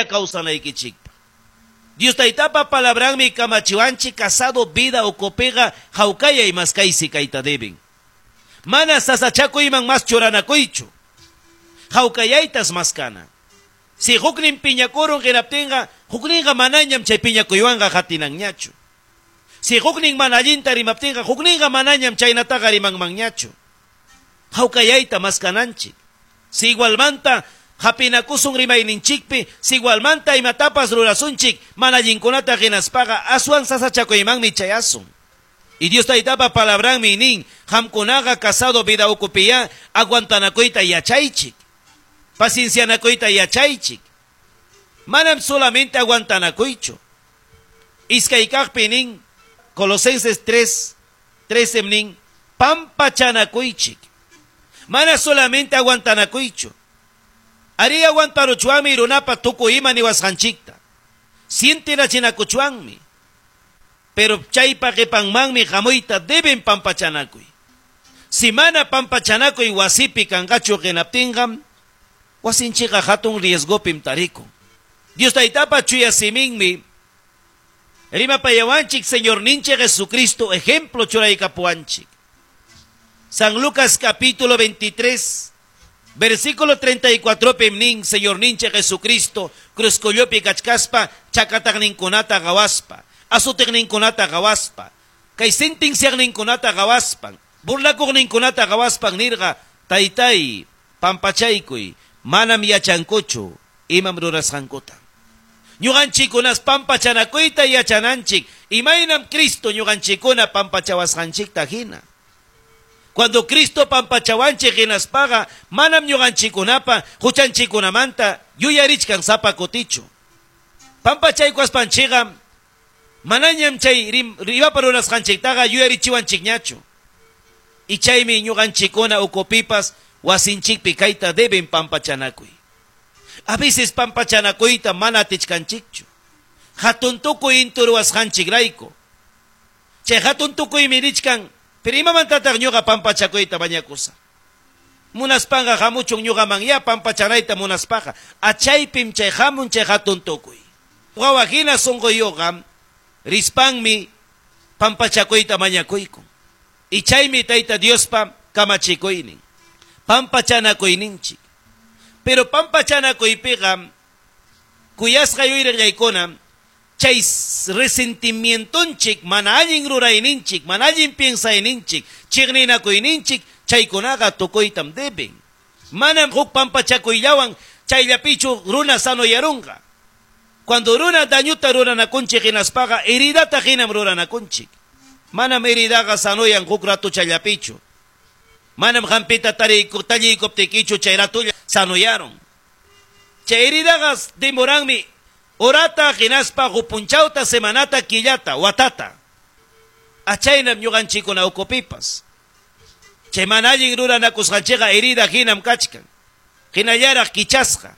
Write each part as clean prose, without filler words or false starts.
Kawsanaykichikpaq. Dios Taytapa palabranmi kamachiwanchik casado vida ukupiqa hawkayay maskaysi kayta deben. Mana sasachakuyman mas churanakuychu. Hawkayaytas maskana. Si huknin piñakurun hinaptinqa, hukninqa manañam chay piñakuywanqa qatinanñachu. Si huknin mana allinta rimaptinqa, hukninqa manañam chaynataqa rimanmanñachu. Hawkayayta maskananchik. Si igualmanta hapinakusun rimayninchikpi, si igualmanta imatapas rurasunchik, mana allinkunata hinaspaqa aswan sasachakuymanmi chayasun. Y Dios Taytapa palabranmi nin, qamkunaqa casado vida ukupiya aguantanakuyta yachaychik. Paciencianakuyta yachaychik. Manam solamente aguantanakuychu. Iskay kaqpi nin, Colosenses 3, 13 nin, pampachanakuychik. Mana solamente aguantanakuychu. Arí aguantaruchwanmi runapa tukuy ima niwasqanchikta. Sientirachinakuchwanmi. Pero chaypa qipanmanmi hamuyta deben pampachanakuy. Si mana pampachanakuy wasipi kanqachu qinaptinqa, wasinchikqa hatun riesgopim tarikun. Dios Taytapa chuya siminmi rimapayawanchik Señorninchik Jesucristo ejemplo churaykapuwanchik. San Lucas capítulo 23, versículo 34 pim nin Señorninchik Jesucristo cruzcollopi kachkaspa chakataqninkunata qawaspa, asutikninkunata qawaspa, kay sentenciaqninkunata qawaspan, burlakuqninkunata qawaspan nirqa, Taytay, pampachaykuy, manam yachankuchu imam rurasqankuta. Ñuqanchikunas pampachanakuyta yachananchik, imaynam Cristo ñuqanchikuna pampachawasqanchikta hina. Cuando Cristo pampachawanchik hinaspaqa, manam ñuqanchikunapa huchanchikunamanta yuyarichkan sapa kutichu. Pampachaykuaspanchikqa manañam chay rimapa rurasqanchiktaqa yuyarichiwanchikñachu. Y chaymi ñuqanchikuna ukupipas wasinchikpi kayta deben pampachanakuy. A veces pampachanakuyta mana atichkanchikchu. Hatun tukuy inturuwasqanchikrayku. Chay hatun tukuymi richkan, pero imamantataq ñuqa pampachakuyta mañakusaq. Munaspanqa hamuchun ñuqaman ya pampachanayta munaspaqa, achaypim chay hamun chay hatun tukuy. Wawa hina sunquyuqa rispanmi pampachakuyta mañakuykun. Y chaymi Tayta Diospa kamachikuynin, pampachanakuyninchik. Pero pampachanakuypiqa kuyasqa yuyariqllaykuna chay resentimientonchik, mana allin rurayninchik, mana allin piensayninchik, chiqninakuyninchik, chaykunaqa tukuytam deben. Manam huk pampachakuyllawan chayllapichu runa sanoyarunqa. Cuando runa dañuta ruranakunchik hinaspaqa heridata hinam ruranakunchik. Manam heridaqa sanoyan huk rato chayllapichu. Manam hampita talliykuptikichu chay ratolla sanoyarun. Chay heridaqa demoranmi horata hinaspa hupunchawta semanata killata watata. Achaynam ñuqanchikuna ukupipas. Chay mana allin ruranakusqanchikqa herida hinam kachkan. Hinallaraq kichasqa.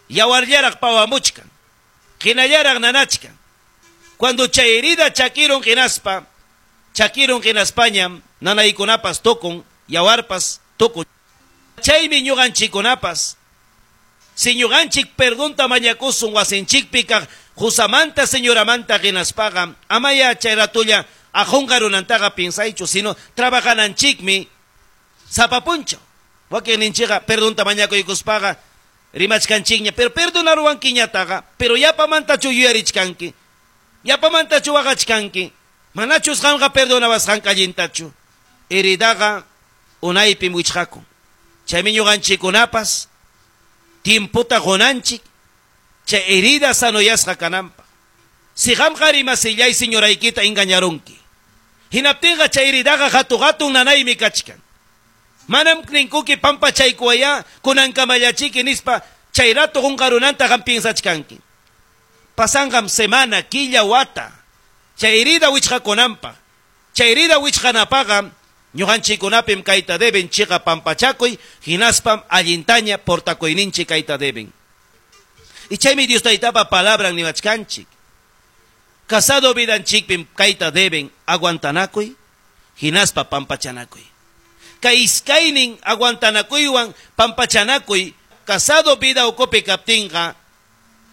Yawarllaraq pawamuchkan. Hinallaraq nanachkan. Cuando chay herida chakirun hinaspa, chakirun hinaspañam nanaykunapas tukun, yawarpas tukun. Chaymi ñuqanchikunapas. Si ñuqanchik perdonta mañakusun wasinchikpi kaq qusamanta señoramanta hinaspaqa, amaya chay ratulla ajunqa runantaqa piensaychu, sino trabajananchikmi sapa punchaw. Wakinninchikqa perdonta mañakuykuspaqa rimachkanchikña, pero perdonaruwankiñataqa, pero yapamantachu yuyarichkanki, yapamantachu waqachkanki, manachus qamqa perdonawasqanka allintachu. Heridaqa unaypim wichqakun. Chaymi ñuqanchikunapas tiemputa qunanchik chay herida sanoyasqa kananpaq. Si qamqa rimasillay señoraykita engañarunki, hinaptinqa chay heridaqa hatu hatun nanaymi kachkan. Manam ninkuki pampachaykuwaya kunankamallachiki nispa chay rato qunqarunanta qam piensachkanki. Pasanqam semana, killa, wata. Chay herida wichqakunanpaq. Chay herida wichqanapaqa ñuqanchikunapim kayta deben chiqa pampachakuy, hinaspam allintaña portakuyninchik kayta deben. Y chaymi Dios Taytapa palabran niwachkanchik. Casado vidanchikpim kayta deben aguantanakuy, hinaspa pampachanakuy. Kay iskaynin aguantanakuywan pampachanakuy, casado vida ukupi kaptinqa